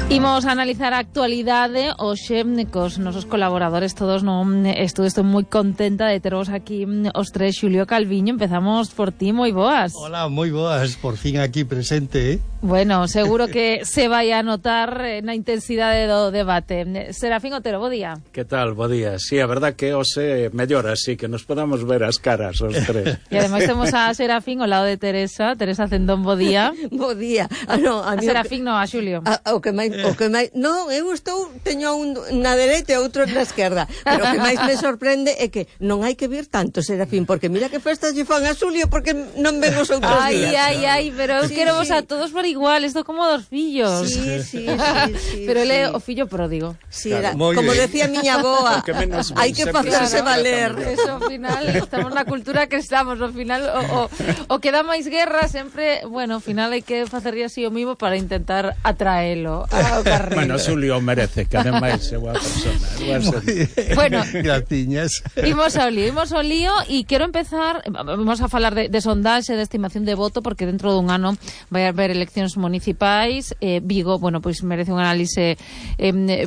Imos a analizar a actualidade hoxe cos nosos colaboradores todos no estudo. Estou moi contenta de teros aquí os tres. Xulio Calviño, empezamos por ti, moi boas. Hola, moi boas, por fin aquí presente, Bueno, seguro que se vai a notar na intensidade do debate. Serafín Otero, bo día. Que tal, bo día? Sí, a verdad que hoxe mellor así, que nos podamos ver as caras os tres. E ademais temos a Serafín ao lado de Teresa Cendón, bo día. Bo día. No, a Serafín non, a Xulio. O que máis non, eu teño un na dereita e outro na esquerda, pero o que máis me sorprende é que non hai que vir tanto, Serafín, porque mira que festas lle fan a Xulio porque non ven os outros días. Ai, pero eu quero vos a todos por igual, isto como dos fillos. Sí. Pero ele é o fillo pródigo. Sí, era, como decía miña boa, hai que facerse valer. Eso, ao final, estamos na cultura que estamos, ao final, o que dá máis guerra sempre, bueno, ao final hai que facerlle así o mismo para intentar atraelo ao carril. Bueno, Xulio merece, que ademais é boa persona. Bueno, gratiñas. Imos ao lío e quero empezar, vamos a falar de sondaxe, de estimación de voto, porque dentro dun ano vai haber eleccións municipais. Vigo, bueno, pois merece un análise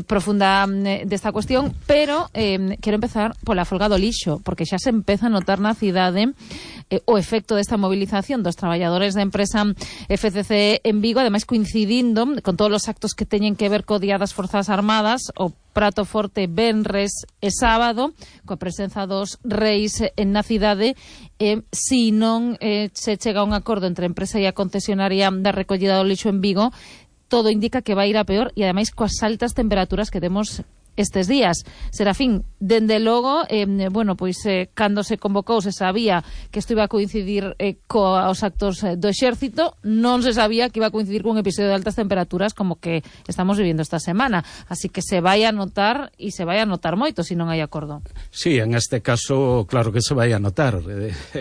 profunda desta cuestión, pero quero empezar pola folga do lixo, porque xa se empeza a notar na cidade o efecto desta movilización dos traballadores da empresa FCC en Vigo, ademais coincidindo con todos os actos que teñen que ver co Día das Forzas Armadas, o prato forte venres e sábado, coa presenza dos reis na cidade. Se non se chega a un acordo entre a empresa e a concesionaria da recollida do lixo en Vigo, todo indica que vai ir a peor, e ademais coas altas temperaturas que temos estes días. Serafín, dende logo, bueno, pois cando se convocou se sabía que isto iba a coincidir coos actos do exército, non se sabía que iba a coincidir cun episodio de altas temperaturas como que estamos vivindo esta semana, así que se vai a notar, e se vai a notar moito se non hai acordo. Sí, en este caso, claro que se vai a notar.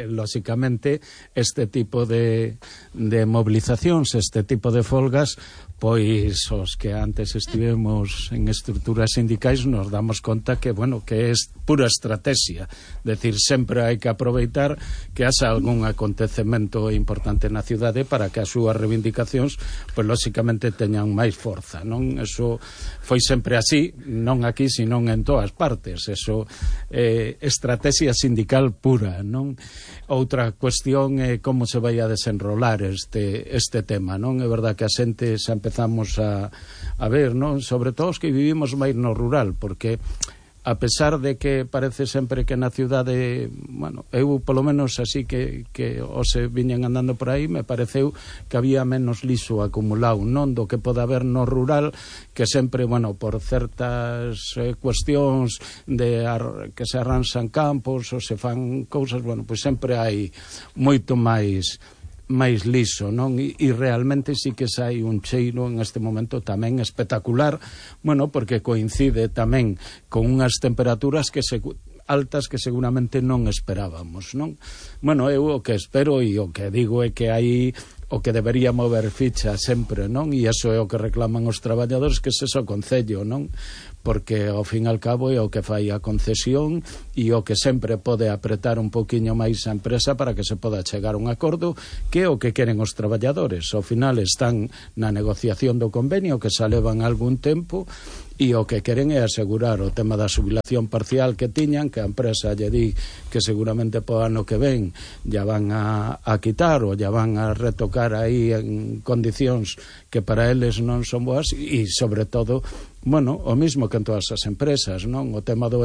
Lóxicamente, este tipo de movilizacións, este tipo de folgas, pois os que antes estivemos en estruturas sindicais nos damos conta que, bueno, que é pura estrategia, decir, sempre hai que aproveitar que haxa algún acontecemento importante na cidade para que as súas reivindicacións, pois lóxicamente teñan máis forza, non? Eso foi sempre así, non aquí, senón en todas partes. Eso é estrategia sindical pura, non? Outra cuestión é como se vai a desenrolar este tema, non? É verdad que a xente xa empezamos a ver, non? Sobre todo os que vivimos máis no rural, porque a pesar de que parece sempre que na cidade, bueno, eu polo menos así que se viñen andando por aí, me pareceu que había menos lixo acumulado, non do que pode haber no rural, que sempre, bueno, por certas cuestións que se arranxan campos ou se fan cousas, bueno, pois sempre hai moito máis liso, non? E realmente sí que hai un cheiro en este momento tamén espectacular, bueno, porque coincide tamén con unhas temperaturas altas que seguramente non esperábamos, non? Bueno, eu o que espero e o que digo é que hai o que debería mover ficha sempre, non? E iso é o que reclaman os traballadores, que ese é o Concello, non? Porque ao fin e ao cabo é o que fai a concesión e o que sempre pode apretar un poquinho máis a empresa para que se poda chegar a un acordo, que é o que queren os traballadores. Ao final están na negociación do convenio, que xa levan algún tempo, e o que queren é asegurar o tema da xubilación parcial que tiñan, que a empresa lle di que seguramente po ano que ven ya van a quitar ou ya van a retocar aí en condicións que para eles non son boas, e sobre todo, bueno, o mismo que en todas as empresas, non? O tema do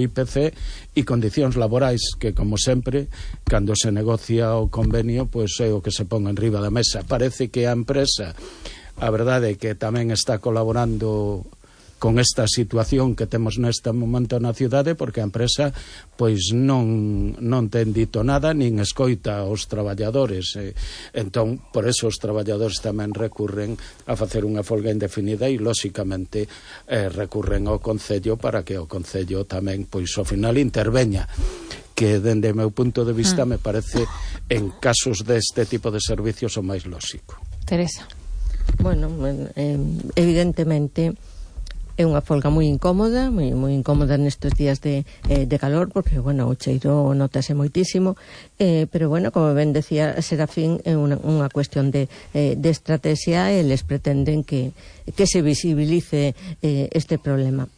IPC e condicións laborais, que como sempre, cando se negocia o convenio, pois é o que se pon enriba da mesa. Parece que a empresa, a verdade é que tamén está colaborando con esta situación que temos neste momento na cidade, porque a empresa pois non ten dito nada, nin escoita aos traballadores. Entón, por eso os traballadores tamén recurren a facer unha folga indefinida e, lóxicamente, recurren ao Concello para que o Concello tamén, pois, ao final interveña, que, dende o meu punto de vista, me parece, en casos deste tipo de servicios, o máis lóxico. Teresa. Bueno, evidentemente É unha folga moi incómoda, moi incómoda nestes días de calor, porque, bueno, o cheiro notase moitísimo, pero, bueno, como ben decía Serafín, é unha cuestión de estrategia, e eles pretenden que se visibilice este problema.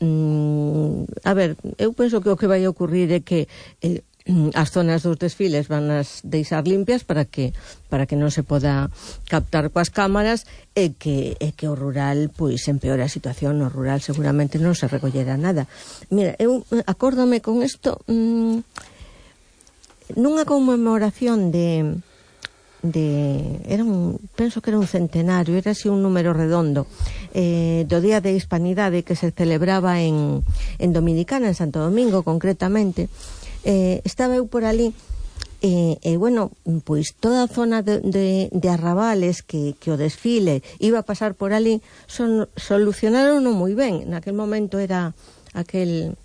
A ver, eu penso que o que vai ocurrir é que as zonas dos desfiles van as deixar limpias para que non se poda captar coas cámaras, e que o rural pois empeora a situación. No rural seguramente non se recollera nada. Mira, eu acórdome con isto nunha conmemoración penso que era un centenario, era así un número redondo, do Día de Hispanidade, que se celebraba en Dominicana, en Santo Domingo concretamente. Estaba eu por ali, bueno, pois toda a zona de arrabales que o desfile iba a pasar por ali, solucionaron moi ben. Naquel momento era aquel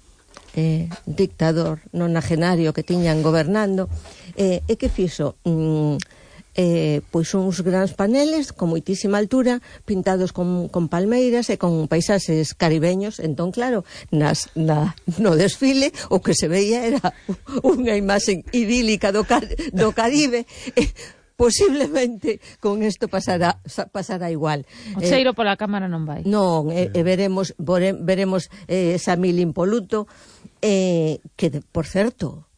dictador nonagenario que tiñan gobernando, e que fixo pois uns grandes paneles con moitísima altura, pintados con palmeiras e con paisaxes caribeños. Entón, claro, no desfile o que se veía era unha imaxe idílica do Caribe. Posiblemente con isto pasará igual. O cheiro pola cámara non vai. Non, veremos Samil impoluto, que, por certo,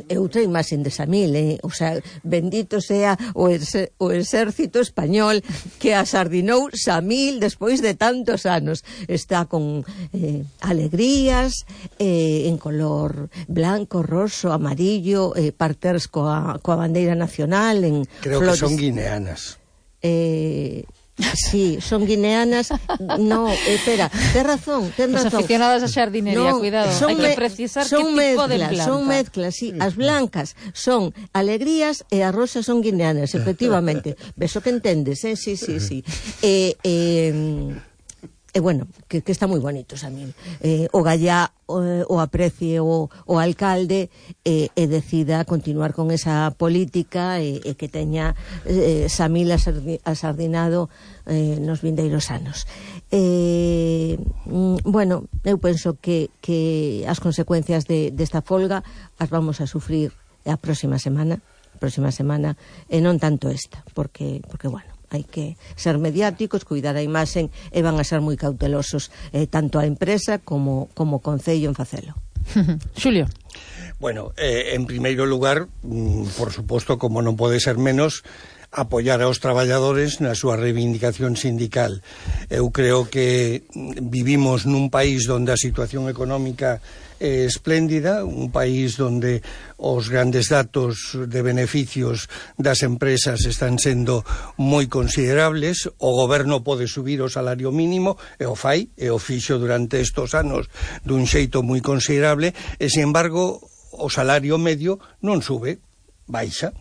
é outra imaxe de Samil, o sea, bendito sea o exército español que asardinou Samil despois de tantos anos. Está con alegrías, en color blanco, roso, amarillo, parters coa bandeira nacional, en creo flores. Que son guineanas. Sí, son guineanas. No, espera, ten razón. Os aficionados a xardinería, cuidado, hai que precisar que tipo de planta. Son mezclas, sí. As blancas son alegrías e as rosas son guineanas, efectivamente. Beso que entendes, sí. Bueno, que está moi bonito, Samil. O Gallá o aprecie o alcalde, e decida continuar con esa política, e que teña Samil asardinado nos vindeiros anos. Bueno, eu penso que as consecuencias desta folga as vamos a sufrir a próxima semana, e non tanto esta, porque bueno, hai que ser mediáticos, cuidar a imaxen, e van a ser moi cautelosos tanto a empresa como Concello en facelo. Xulio. Bueno, en primeiro lugar, por suposto, como non pode ser menos, apoiar aos traballadores na súa reivindicación sindical. Eu creo que vivimos nun país onde a situación económica é espléndida, un país onde os grandes datos de beneficios das empresas están sendo moi considerables. O goberno pode subir o salario mínimo, e o fai, e o fixo durante estes anos dun xeito moi considerable, e, sin embargo, o salario medio non sube, baixa.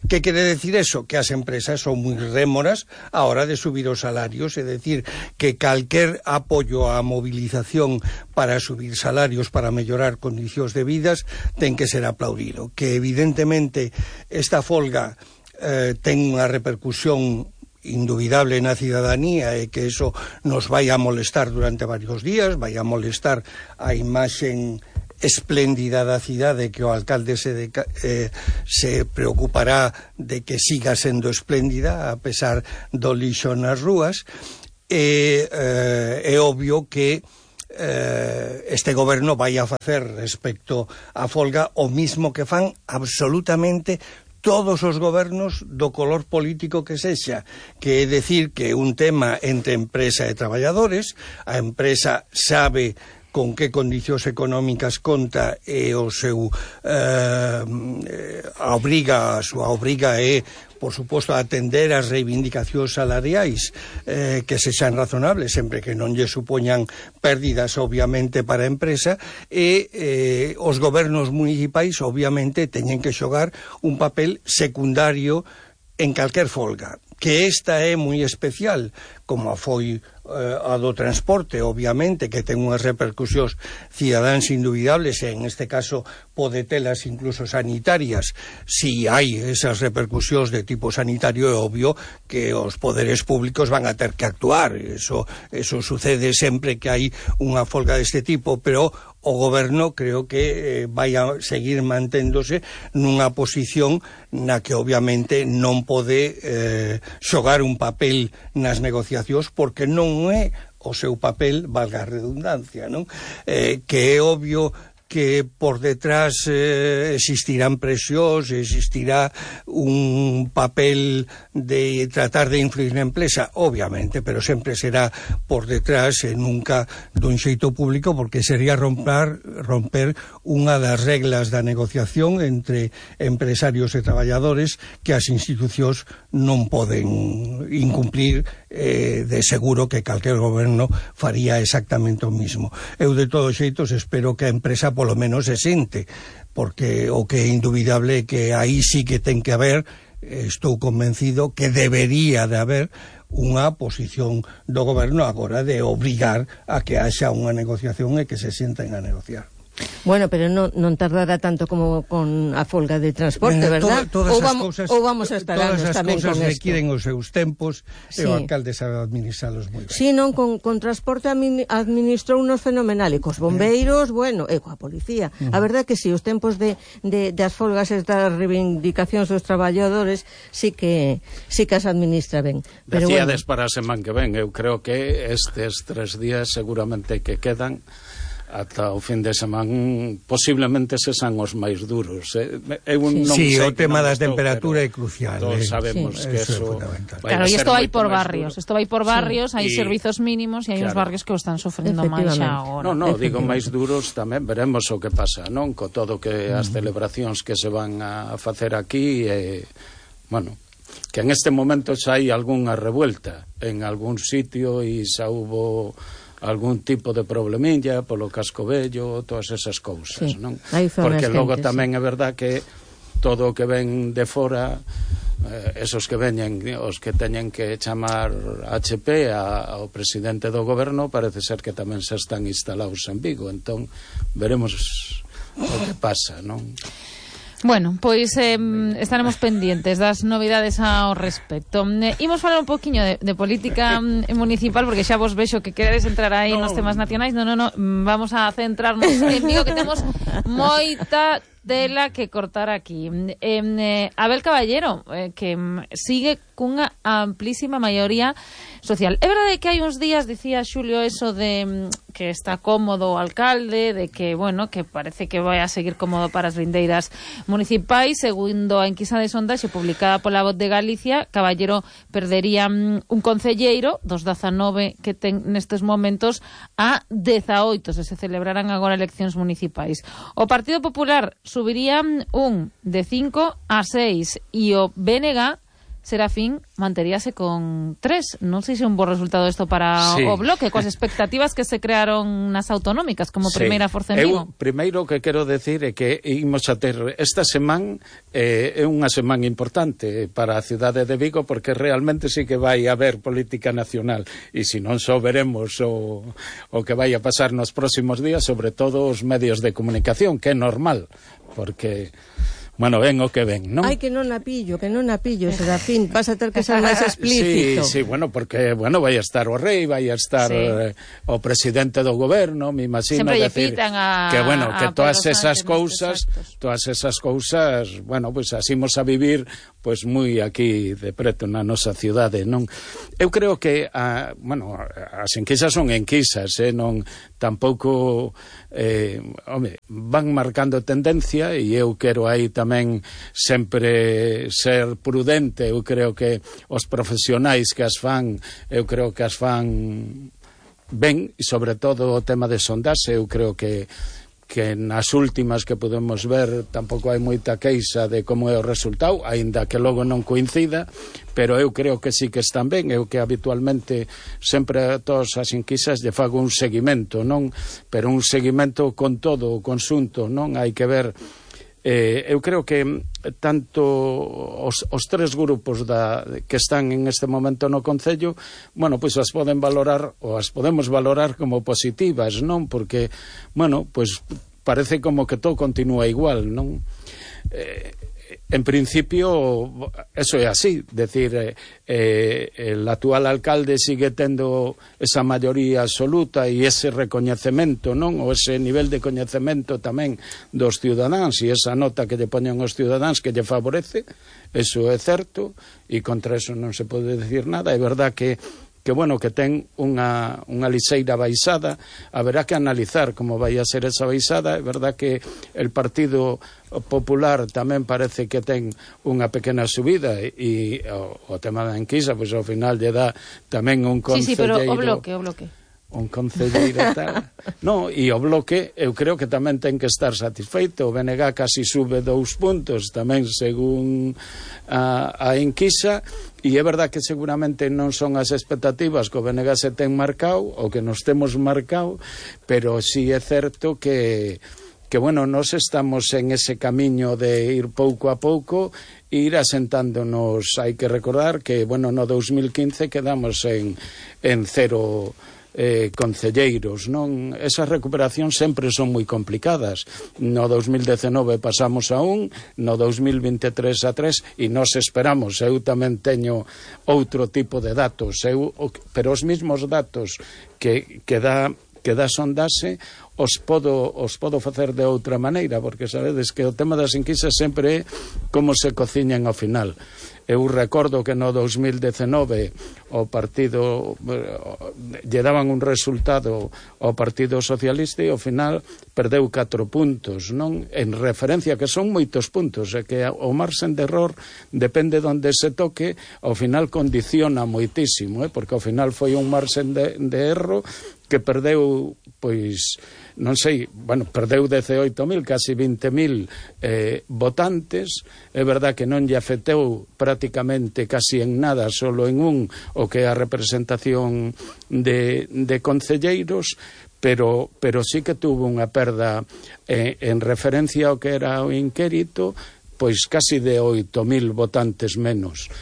Que quere decir eso? Que as empresas son moi rémoras a hora de subir os salarios, é dicir, que calquer apoio á movilización para subir salarios, para mellorar condicións de vidas, ten que ser aplaudido. Que evidentemente esta folga ten unha repercusión indubidable na cidadanía, e que eso nos vai a molestar durante varios días, vai a molestar a imaxen espléndida da cidade, que o alcalde se preocupará de que siga sendo espléndida a pesar do lixo nas rúas. É obvio que este goberno vai a facer respecto á folga o mismo que fan absolutamente todos os gobernos do color político que sexa, que é decir que un tema entre empresa e traballadores. A empresa sabe con que condicións económicas conta, e o seu a súa obriga é, por suposto, atender as reivindicacións salariais que sexan razonables, sempre que non lle supoñan pérdidas, obviamente, para a empresa, e os gobernos municipais, obviamente, teñen que xogar un papel secundario en calquer folga. Que esta é moi especial, como foi a do transporte, obviamente, que ten unhas repercusións cidadáns indubidables, e en este caso pode telas incluso sanitarias. Si hai esas repercusións de tipo sanitario, é obvio que os poderes públicos van a ter que actuar. Eso sucede sempre que hai unha folga deste tipo, pero o goberno creo que vai a seguir manténdose nunha posición na que obviamente non pode xogar un papel nas negociacións, porque non é o seu papel, valga a redundancia, non? Que é obvio que por detrás existirán presións, existirá un papel de tratar de influir na empresa, obviamente, pero sempre será por detrás e nunca dun xeito público, porque sería romper unha das reglas da negociación entre empresarios e traballadores que as institucións non poden incumplir. De seguro que calquer goberno faría exactamente o mismo. Eu de todos xeitos espero que a empresa polo menos se sente, porque o que é indubidable é que aí sí que ten que haber, estou convencido que debería de haber unha posición do goberno agora de obrigar a que haxa unha negociación e que se sienten a negociar. Bueno, pero non tardará tanto como con a folga de transporte, verdad? Ou vamos a estar anos tamén con isto. Todas as cousas requiren os seus tempos, sí. E o alcalde sabe administralos moi ben. Sí, non, con transporte administrou unos fenomenal, e cos bombeiros, bueno, e coa policía. A verdade que sí, os tempos das folgas e das reivindicacións dos traballadores sí que as administra ben. Decíades para a semana que ven, eu creo que estes 3 días seguramente que quedan ata o fin de semana posiblemente se san os máis duros. Sí, o tema da temperatura é crucial. Todos sabemos que eso claro, e isto vai por barrios. Isto vai por barrios, hai servizos mínimos e hai uns barrios que o están sofrendo máis xa agora. Non, digo máis duros tamén, veremos o que pasa, non? Co todo que as celebracións que se van a facer aquí, bueno, que en este momento xa hai algunha revuelta en algún sitio e xa hubo algún tipo de problemilla polo casco vello, todas esas cousas, non? Porque logo tamén é verdad que todo o que ven de fora, esos que veñen, os que teñen que chamar HP ao presidente do goberno, parece ser que tamén se están instalados en Vigo, entón veremos o que pasa, non? Bueno, pois estaremos pendientes das novidades ao respecto. Imos falar un poquinho de política municipal, porque xa vos vexo que queredes entrar aí nos temas nacionais. Non, vamos a centrarnos en Vigo, que temos moita tela que cortar aquí. Abel Caballero, que sigue cunha amplísima maioría social. É verdade que hai uns días dicía Xulio eso de que está cómodo o alcalde, de que, bueno, que parece que vai a seguir cómodo para as vindeiras municipais. Segundo a enquisa de sondaxe publicada pola Voz de Galicia, Caballero perdería un concelleiro dos 19 que ten nestes momentos a 18 se celebraran agora eleccións municipais. O Partido Popular subiría un de 5 a 6 e o BNG Serafín manteríase con 3. Non sei se é un bo resultado isto para o Bloque, coas expectativas que se crearon nas autonómicas como primeira forza en Vigo. Primeiro que quero decir é que imos a ter esta semana é unha semana importante para a cidade de Vigo, porque realmente sí que vai haber política nacional, e se non só veremos o que vai a pasar nos próximos días, sobre todo os medios de comunicación, que é normal, porque bueno, ven o que ven, non? Ai, que non a pillo, Serafín, vas a ter que ser máis explícito. Sí, bueno, porque, bueno, vai a estar o rei, vai a estar o presidente do goberno, me imagino, decir que, bueno, que todas esas cousas, bueno, pois así imos a vivir, pois moi aquí de preto na nosa cidade, non? Eu creo que, bueno, as enquisas son enquisas, non tampouco, van marcando tendencia, e eu quero aí tamén sempre ser prudente. Eu creo que os profesionais que as fan, eu creo que as fan ben, e sobre todo o tema de sondaxe, eu creo que nas últimas que podemos ver tampouco hai moita queixa de como é o resultado, aínda que logo non coincida, pero eu creo que sí que están ben. Eu que habitualmente sempre a todas as enquisas lle fago un seguimento, non? Pero un seguimento con todo o conxunto, non? Hai que ver Eu creo que tanto os tres grupos que están en este momento no Concello, bueno, pois as poden valorar ou as podemos valorar como positivas, non? Porque, bueno, pois parece como que todo continúa igual, non? En principio, eso é así, decir, el actual alcalde sigue tendo esa maioría absoluta e ese recoñecemento, non? Ou ese nivel de coñecemento tamén dos cidadáns e esa nota que lle poñen os cidadáns que lle favorece, eso é certo, e contra eso non se pode decir nada. É verdad que bueno, que ten unha lixeira baixada, haberá que analizar como vai a ser esa baixada. É verdad que el Partido Popular tamén parece que ten unha pequena subida e o tema da enquisa, pois ao final lle dá tamén un concelleiro... Sí, pero o bloque. Un concelleiro tal. No, e o bloque eu creo que tamén ten que estar satisfeito. O BNG casi sube 2 puntos tamén según a enquisa, e é verdad que seguramente non son as expectativas que o BNG se ten marcado ou que nos temos marcado, pero sí é certo que bueno, nos estamos en ese camiño de ir pouco a pouco e ir asentándonos. Hai que recordar que, bueno, no 2015 quedamos en 0 concelleiros, non? Esas recuperacións sempre son moi complicadas. No 2019 pasamos a 1, no 2023 a 3, e nos esperamos. Eu tamén teño outro tipo de datos, pero os mesmos datos que dá sondaxe os podo facer de outra maneira, porque sabedes que o tema das enquisas sempre é como se cociñan ao final. Eu recordo que no 2019 o partido lle daban un resultado ao Partido Socialista e ao final perdeu 4 puntos, non? En referencia, que son moitos puntos, e que o marxen de error depende de onde se toque, ao final condiciona moitísimo, porque ao final foi un marxen de erro que perdeu, pois, non sei, bueno, perdeu 18.000, casi 20.000 votantes. É verdad que non lle afectou prácticamente casi en nada, solo en o que é a representación de concelleiros, pero sí que tuvo unha perda en referencia ao que era o inquérito, pois casi de 8.000 votantes menos.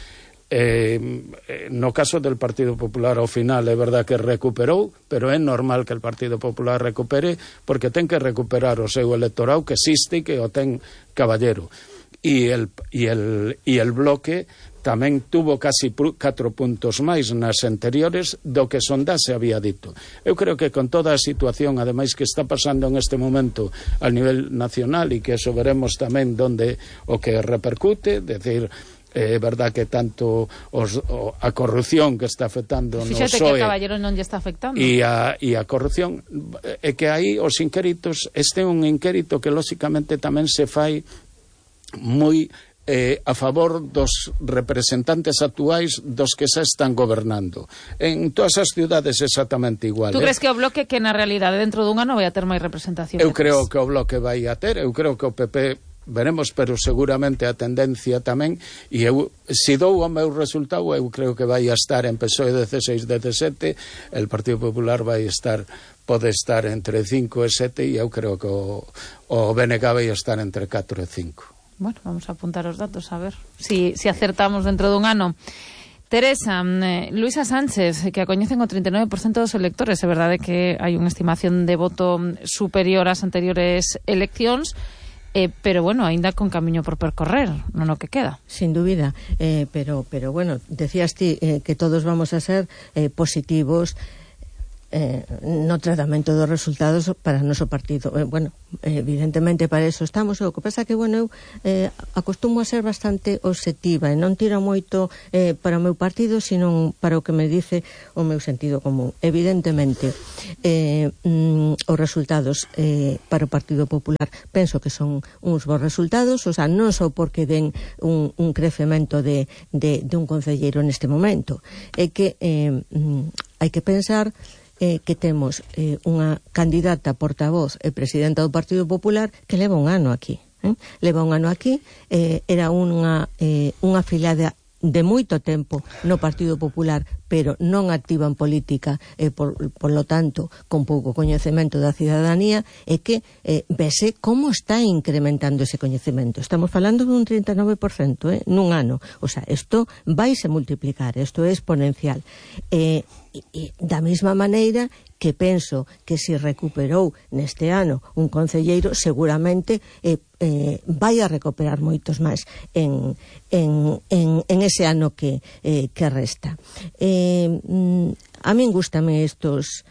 No caso del Partido Popular, ao final é verdad que recuperou, pero é normal que el Partido Popular recupere, porque ten que recuperar o seu electorado que existe e que o ten caballero. E el bloque tamén tuvo casi 4 puntos máis nas anteriores do que sondaxe había dito. Eu creo que con toda a situación, ademais, que está pasando en este momento a nivel nacional, e que eso veremos tamén donde o que repercute, decir, é verdad que tanto a corrupción que está afectando no PSOE... Fíxate que a Caballero non lle está afectando. E a corrupción, é que aí os inquéritos, este é un inquérito que lóxicamente tamén se fai moi a favor dos representantes actuais dos que xa están gobernando. En todas as ciudades exactamente igual. Tú crees que o bloque que na realidade dentro dun ano vai a ter máis representación? Eu creo que o bloque vai a ter, eu creo que o PP... veremos, pero seguramente a tendencia tamén, e eu, se dou o meu resultado, eu creo que vai a estar en PSOE 16-17, el Partido Popular pode estar entre 5 e 7, e eu creo que o BNG vai a estar entre 4 e 5. Bueno, vamos a apuntar os datos, a ver si acertamos dentro dun ano. Teresa, Luisa Sánchez, que a coñecen o 39% dos electores, é verdade que hai unha estimación de voto superior ás anteriores eleccións, pero bueno, aínda con camiño por percorrer, non o que queda. Sin dúbida, pero bueno, decías ti que todos vamos a ser positivos no tratamento dos resultados para o noso partido. Bueno, evidentemente para eso estamos. O que pasa que, bueno, eu acostumo a ser bastante obxectiva e non tiro moito para o meu partido, sino para o que me dice o meu sentido común. Evidentemente, os resultados para o Partido Popular penso que son uns bons resultados, o sea, non só porque den un crecemento de un concelleiro neste momento, é que hai que pensar que temos unha candidata portavoz e presidenta do Partido Popular que leva un ano aquí. Leva un ano aquí, era unha afiliada de moito tempo no Partido Popular, pero non activa en política e por lo tanto con pouco coñecemento da cidadanía, é que vese como está incrementando ese coñecemento. Estamos falando dun 39% nun ano, o sea, isto vaise multiplicar, isto é exponencial. E da mesma maneira que penso que se recuperou neste ano un concelleiro, seguramente vai a recuperar moitos máis en ese ano que resta. A min gustame estos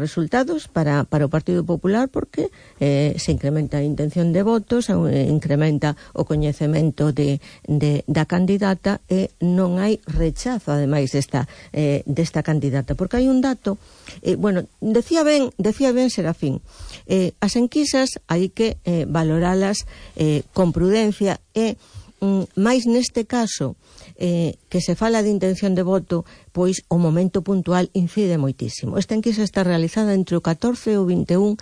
resultados para o Partido Popular porque se incrementa a intención de votos, incrementa o coñecemento da candidata e non hai rechazo, ademais, desta candidata. Porque hai un dato, decía ben Serafín, as enquisas hai que valoralas con prudencia e máis neste caso que se fala de intención de voto, pois o momento puntual incide moitísimo. Esta enquisa está realizada entre o 14 e o 21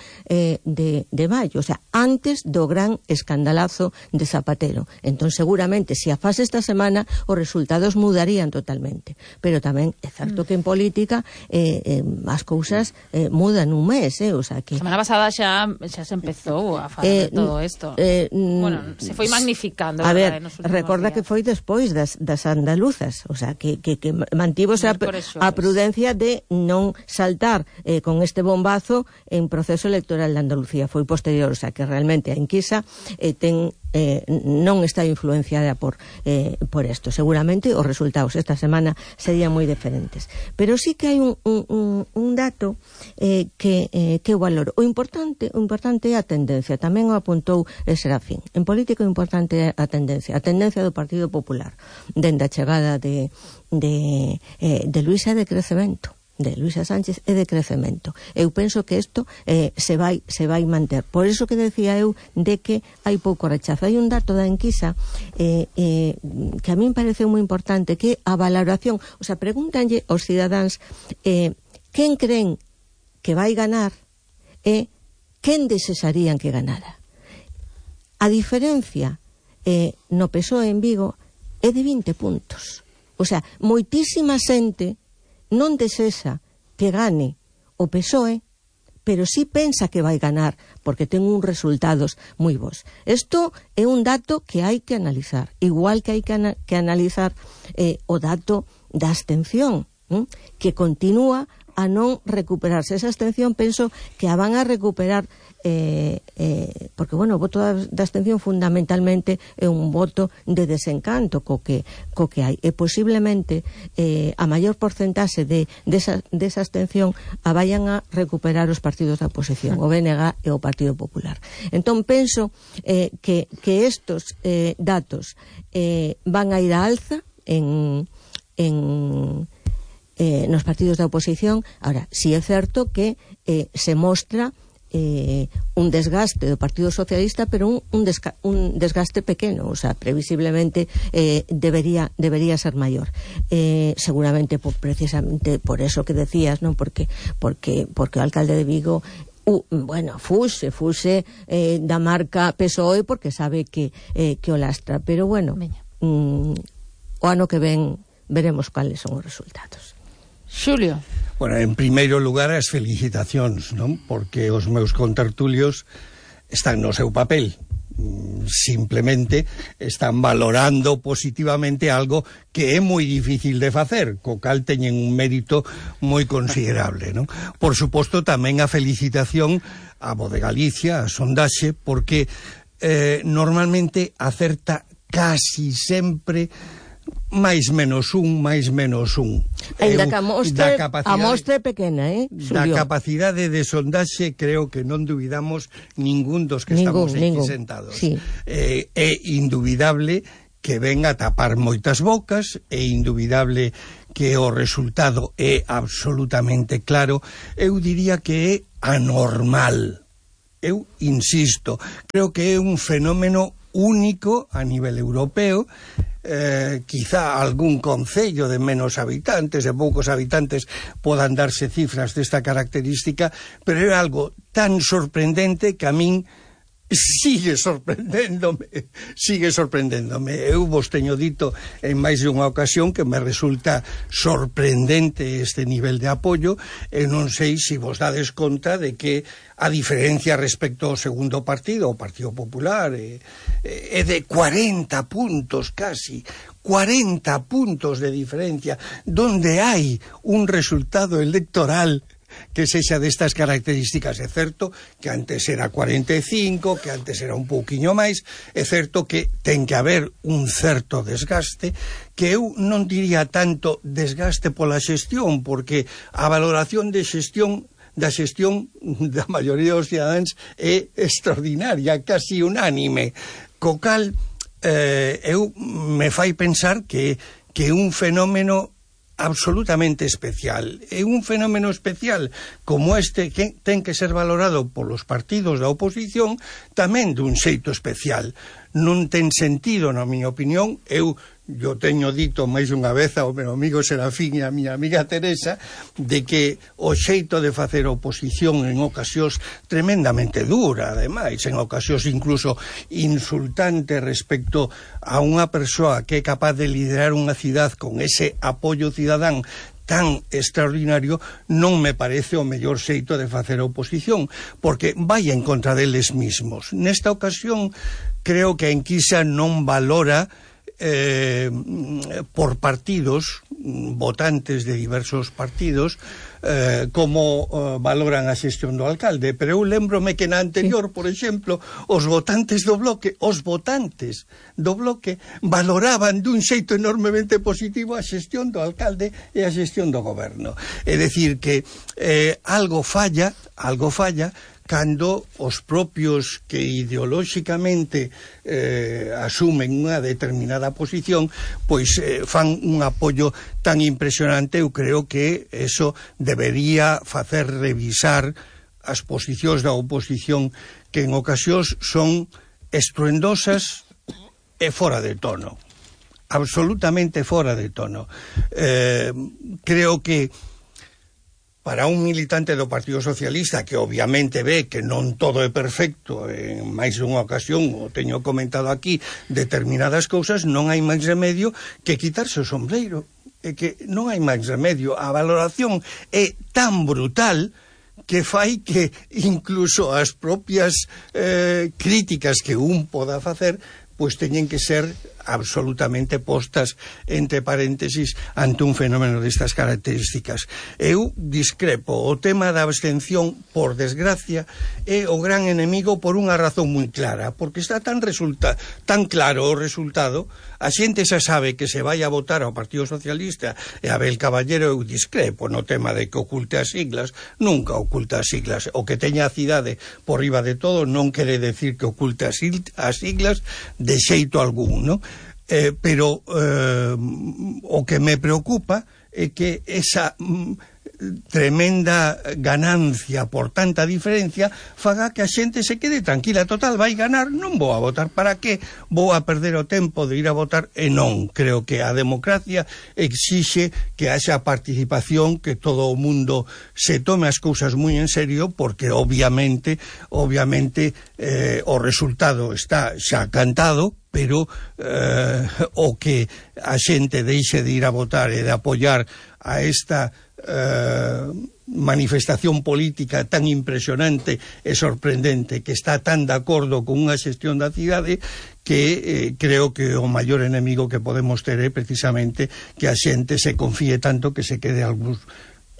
de maio, o sea, antes do gran escandalazo de Zapatero. Entón, seguramente, se a fase esta semana, os resultados mudarían totalmente. Pero tamén é certo que en política as cousas mudan un mes, o sea que... A semana pasada xa se empezou a falar de todo isto. Se foi magnificando. A ver, recorda que foi despois das andaluzas, o sea, que mantivose a prudencia de non saltar con este bombazo en proceso electoral de Andalucía. Foi posterior, o sea, que realmente a enquisa non está influenciada por isto. Seguramente os resultados esta semana serían moi diferentes. Pero sí que hai un dato que eu valoro. O importante é a tendencia. Tamén o apuntou Serafín. En política o importante é a tendencia do Partido Popular. Dende a chegada de Luisa de crecemento, de Luisa Sánchez é de crecemento. Eu penso que isto se vai manter. Por iso que decía eu de que hai pouco rechazo. Hai un dato da enquisa que a min pareceu moi importante, que a valoración, o sea, pregúntanlle aos cidadáns quen creen que vai ganar e quen desesarían que ganara. A diferencia no PSOE en Vigo é de 20 puntos. O sea, moitísima xente non desesa que gane o PSOE, pero sí pensa que vai ganar, porque ten uns resultados moi bons. Isto é un dato que hai que analizar, igual que hai que analizar o dato da abstención, que continúa a non recuperarse. Esa abstención penso que a van a recuperar porque, o voto da abstención fundamentalmente é un voto de desencanto co que hai, e posiblemente a maior porcentaxe desa abstención a vayan a recuperar os partidos da oposición, o BNG e o Partido Popular. Entón penso que estos datos van a ir a alza nos partidos da oposición. Ahora, si é certo que se mostra un desgaste do Partido Socialista, pero un desgaste pequeno, o sea, previsiblemente debería ser maior. Seguramente precisamente por eso que decías, non? Porque o alcalde de Vigo fuse da marca PSOE porque sabe que o lastra, pero o ano que ven veremos cuáles son os resultados. Xulio. En primeiro lugar, as felicitacións, non? Porque os meus contertulios están no seu papel. Simplemente están valorando positivamente algo que é moi difícil de facer, co cal teñen un mérito moi considerable, non? Por suposto, tamén a felicitación a Voz de Galicia, a sondaxe, porque normalmente acerta casi sempre máis menos un. Ainda que a mostra é pequena, Da capacidade de sondaxe creo que non dubidamos ningún dos que estamos aquí sentados. Sí. É indubidable que ven a tapar moitas bocas, é indubidable que o resultado é absolutamente claro. Eu diría que é anormal. Eu insisto, creo que é un fenómeno único a nivel europeo. Quizá algún concello de menos habitantes, de poucos habitantes, podan darse cifras desta característica, pero é algo tan sorprendente que a min sigue sorprendéndome. Eu vos teño dito en máis de unha ocasión que me resulta sorprendente este nivel de apoio, e non sei se vos dades conta de que a diferencia respecto ao segundo partido, o Partido Popular, é de 40 puntos casi, 40 puntos de diferencia, donde hai un resultado electoral que sexa destas características. É certo que antes era 45, que antes era un pouquiño máis, é certo que ten que haber un certo desgaste, que eu non diría tanto desgaste pola xestión, porque a valoración da xestión da maioría dos cidadáns é extraordinaria, casi unánime, co cal eu me fai pensar que é un fenómeno absolutamente especial. É un fenómeno especial como este que ten que ser valorado polos partidos da oposición tamén dun xeito especial. Non ten sentido, na miña opinión, eu teño dito máis unha vez ao meu amigo Serafín e a miña amiga Teresa, de que o xeito de facer oposición en ocasións tremendamente dura, ademais, en ocasións incluso insultante respecto a unha persoa que é capaz de liderar unha cidade con ese apoio cidadán tan extraordinario, non me parece o mellor xeito de facer oposición, porque vai en contra deles mismos. Nesta ocasión, creo que a enquisa non valora por partidos, votantes de diversos partidos, como valoran a xestión do alcalde, pero eu lembrome que na anterior, por exemplo, os votantes do Bloque valoraban dun xeito enormemente positivo a xestión do alcalde e a xestión do goberno. É dicir que algo falla cando os propios que ideolóxicamente asumen unha determinada posición, pois fan un apoio tan impresionante. Eu creo que eso debería facer revisar as posicións da oposición, que en ocasións son estruendosas e fora de tono, absolutamente fora de tono. Creo que para un militante do Partido Socialista, que obviamente ve que non todo é perfecto, en máis dunha ocasión, o teño comentado aquí, determinadas cousas, non hai máis remedio que quitarse o sombreiro. É que non hai máis remedio. A valoración é tan brutal que fai que incluso as propias críticas que un poda facer, pois teñen que ser absolutamente postas entre paréntesis ante un fenómeno destas características. Eu discrepo. O tema da abstención, por desgracia, é o gran enemigo por unha razón moi clara, porque está tan claro o resultado, a xente xa sabe que se vai a votar ao Partido Socialista, e Abel Caballero, eu discrepo no tema de que oculte as siglas, nunca oculta as siglas. O que teña a cidade por riba de todo non quere decir que oculte as siglas de xeito algún, non? Pero o que me preocupa é que esa tremenda ganancia por tanta diferencia faga que a xente se quede tranquila. Total, vai ganar, non vou a votar, para que vou a perder o tempo de ir a votar? E non, creo que a democracia exixe que haxa participación, que todo o mundo se tome as cousas moi en serio, porque obviamente o resultado está xa cantado, pero o que a xente deixe de ir a votar e de apoiar a esta manifestación política tan impresionante e sorprendente, que está tan de acordo con unha xestión da cidade, que creo que o maior enemigo que podemos ter é precisamente que a xente se confíe tanto que se quede algúns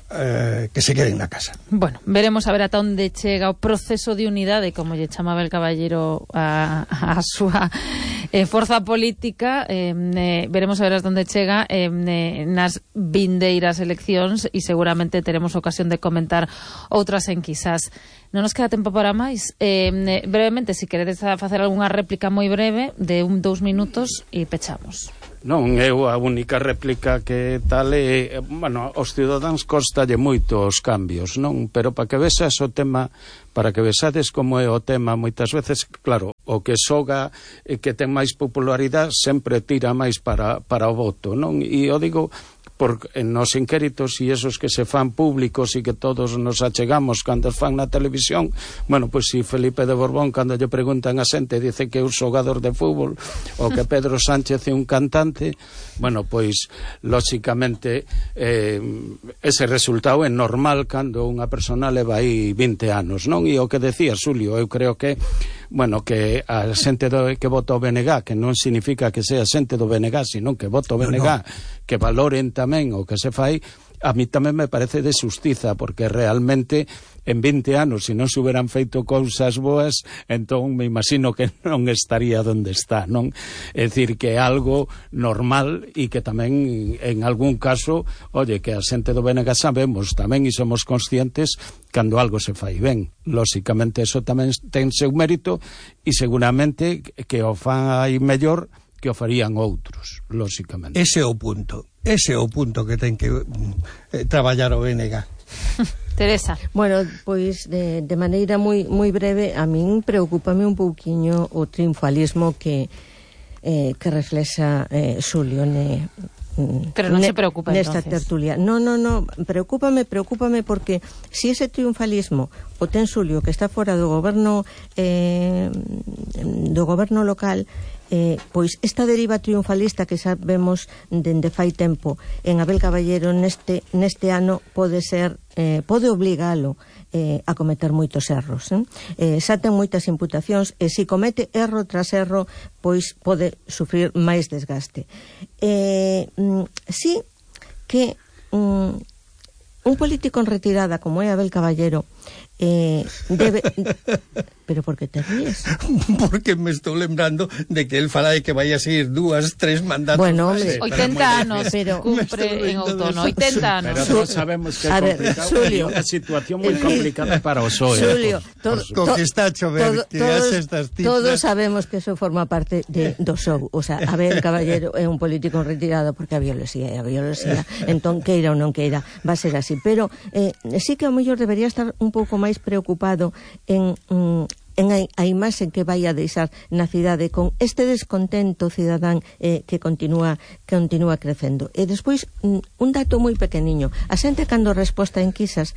que se queden na casa. Bueno, veremos a ver ata onde chega o proceso de unidade, como lle chamaba el caballero a súa forza política. Veremos a ver ata onde chega nas vindeiras eleccións, e seguramente teremos ocasión de comentar outras enquisas. Non nos queda tempo para máis. Brevemente, se queredes facer algunha réplica moi breve de 2 minutos e pechamos. Non, eu a única réplica que tal é, bueno, aos cidadáns costalle moito os cambios, non? Pero para que vexades o tema, para que vexades como é o tema, moitas veces, claro, o que soga e que ten máis popularidade sempre tira máis para o voto, non? E eu digo nos inquéritos e esos que se fan públicos e que todos nos achegamos cando os fan na televisión, bueno, pois si Felipe de Borbón cando lle preguntan a xente dice que é un xogador de fútbol ou que Pedro Sánchez é un cantante, bueno, pois lóxicamente ese resultado é normal cando unha persona leva aí 20 anos, non? E o que decía Xulio, eu creo que bueno, que a xente que vota o BNG, que non significa que sea xente do BNG, sino que vota o BNG, que valoren tamén o que se fai, a mí tamén me parece de xustiza, porque realmente en 20 anos, se non se hubieran feito cousas boas, entón me imagino que non estaría onde está, non? É dicir, que é algo normal e que tamén, en algún caso, oye, que a xente do BNG sabemos tamén e somos conscientes cando algo se fai ben. Lóxicamente, eso tamén ten seu mérito e seguramente que o fai mellor que o farían outros, lóxicamente. Ese é o punto que ten que traballar o BNG. Teresa. Bueno, pois de maneira moi breve, a min preocúpame un pouquiño o triunfalismo que reflexa Xulio pero non se preocupa nesta entonces. Tertulia. No, preocúpame porque si ese triunfalismo o ten Xulio que está fora do goberno local, pois esta deriva triunfalista que sabemos dende fai tempo en Abel Caballero neste ano pode obligalo a cometer moitos erros, xa ten moitas imputacións e se comete erro tras erro pois pode sufrir máis desgaste. Sí que un político en retirada como é Abel Caballero debe... Pero por que te ríes? Porque me estou lembrando de que él fala de que vai a seguir 2, 3 mandatos. Bueno, hombre, 80 anos cumpre en outono, 80 anos. Pero todos sabemos que é complicado, é unha situación moi complicada para o PSOE. Xulio, co que está a chover, que haces estas cifras. Todos sabemos que eso forma parte do show. O sea, Abel Caballero é un político retirado porque a bioloxía, entón queira ou non queira, va a ser así. Pero sí que ao mellor debería estar un pouco máis preocupado en a imaxe que vai a deixar na cidade con este descontento cidadán que continúa crecendo. E despois, un dato moi pequeniño, a xente cando resposta en quisas,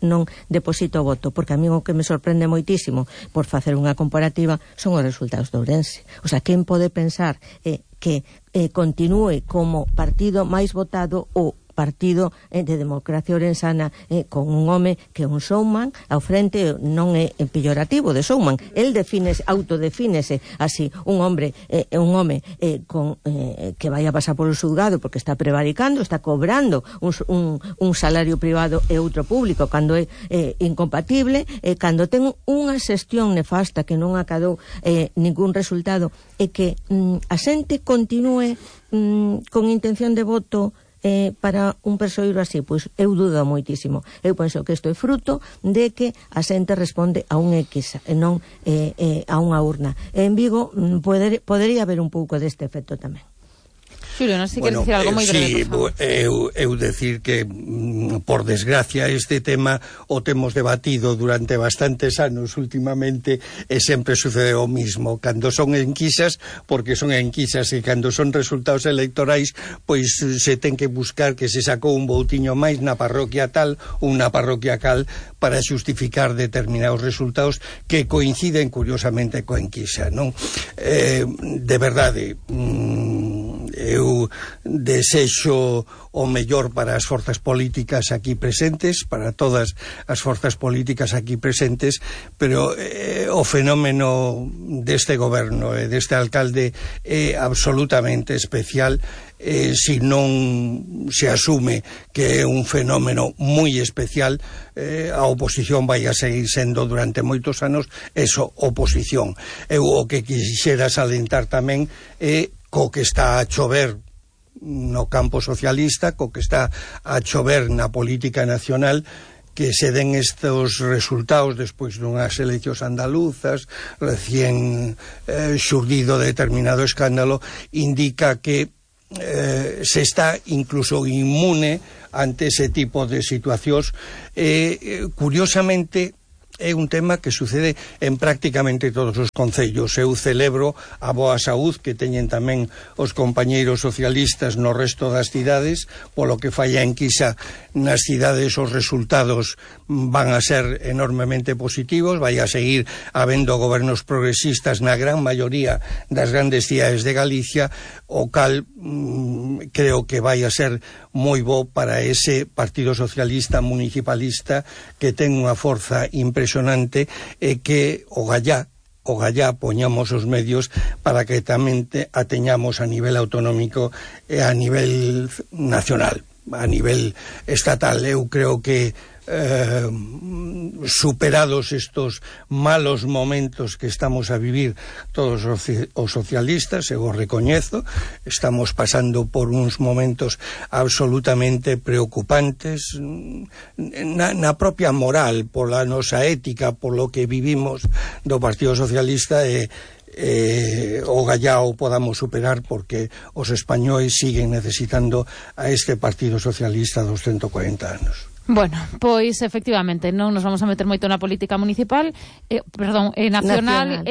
non deposita o voto, porque a mí o que me sorprende moitísimo, por facer unha comparativa, son os resultados de Ourense. O sea, quen pode pensar que continúe como partido máis votado o partido de democracia orensana con un home que é un showman ao frente, non é pellorativo de showman, el autodefínese así, un home que vai a pasar polo xulgado porque está prevaricando, está cobrando un salario privado e outro público cando é incompatible, cando ten unha xestión nefasta que non acadou ningún resultado, e que a xente continúe con intención de voto para un persoeiro así, pois eu dudo moitísimo. Eu penso que isto é fruto de que a xente responde a un X e non a unha urna. En Vigo podería haber un pouco deste efecto tamén. Xulio, non sei se queres dicir algo moi breve. Eu decir que, por desgracia, este tema o temos debatido durante bastantes anos últimamente e sempre sucede o mismo. Cando son enquisas, porque son enquisas, e cando son resultados electorais, pois se ten que buscar que se sacou un voutiño máis na parroquia tal ou na parroquia cal para xustificar determinados resultados que coinciden curiosamente coa enquisa, non? De verdade, eu desexo o mellor para as forzas políticas aquí presentes, para todas as forzas políticas aquí presentes, pero o fenómeno deste goberno e deste alcalde é absolutamente especial. Se non se asume que é un fenómeno moi especial, a oposición vai a seguir sendo durante moitos anos eso, oposición. Eu o que quixera salientar tamén é co que está a chover no campo socialista, co que está a chover na política nacional, que se den estos resultados despois dunhas eleccións andaluzas, recién xurdido determinado escándalo, indica que se está incluso inmune ante ese tipo de situacións. Curiosamente, é un tema que sucede en prácticamente todos os concellos. Eu celebro a boa saúd que teñen tamén os compañeiros socialistas no resto das cidades, polo que fai a enquisa nas cidades os resultados van a ser enormemente positivos, vai a seguir habendo gobernos progresistas na gran maioría das grandes cidades de Galicia, o cal creo que vai a ser moi bo para ese Partido Socialista municipalista que ten unha forza impresionante e que o gallá poñamos os medios para que tamén a teñamos a nivel autonómico e a nivel nacional, a nivel estatal. Eu creo que superados estos malos momentos que estamos a vivir todos os socialistas, eu o recoñezo, estamos pasando por uns momentos absolutamente preocupantes na propia moral, pola nosa ética, polo que vivimos do Partido Socialista, o gallao podamos superar, porque os españois siguen necesitando a este Partido Socialista dos 140 anos. Bueno, pois efectivamente non nos vamos a meter moito na política municipal, nacional.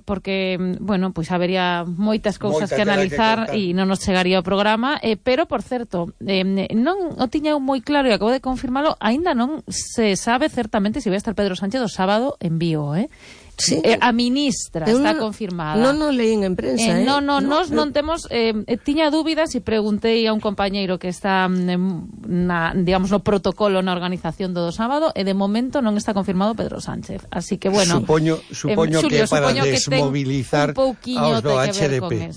Porque, bueno, pois habería moitas cousas que analizar e non nos chegaría o programa, pero, por certo, non o tiña moi claro e acabo de confirmalo, aínda non se sabe certamente se vai estar Pedro Sánchez o sábado en Vigo, Sí. A ministra está confirmada. Non o leín en prensa, Nos non temos, tiña dúbidas e preguntei a un compañeiro que está digamos, no protocolo na organización do sábado, e de momento non está confirmado Pedro Sánchez. Así que, bueno, supoño Xulio, que para desmobilizar aos do HDP,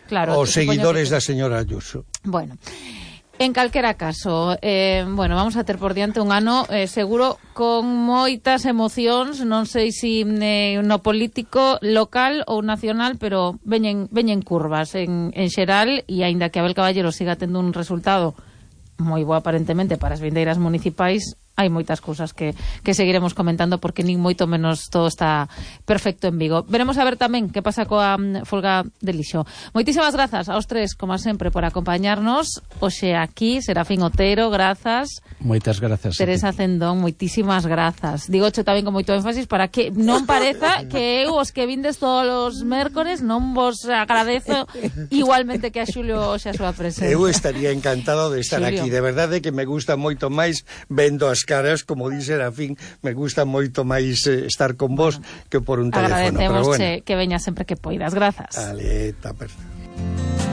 claro, os seguidores da señora Ayuso. Bueno, en calquera caso, vamos a ter por diante un ano seguro con moitas emocións, non sei se no político local ou nacional, pero veñen curvas en xeral, e aínda que Abel Caballero siga tendo un resultado moi bo aparentemente para as vindeiras municipais, hai moitas cousas que seguiremos comentando, porque nin moito menos todo está perfecto en Vigo. Veremos a ver tamén que pasa coa folga de lixo. Moitísimas grazas aos tres, como sempre, por acompañarnos hoxe aquí. Serafín Otero, grazas. Moitas grazas. Teresa Cendón, moitísimas grazas. Digocho tamén con moito énfasis para que non pareza que eu os que vindes todos os mércores non vos agradezo igualmente que a Xulio hoxe a súa presencia. Eu estaría encantado de estar Xulio. Aquí. De verdade que me gusta moito máis vendo as caras, como dice Serafín, me gusta moito máis estar con vos que por un teléfono. Agradecemos que veña sempre que poidas. Grazas. Ale, está perfecto.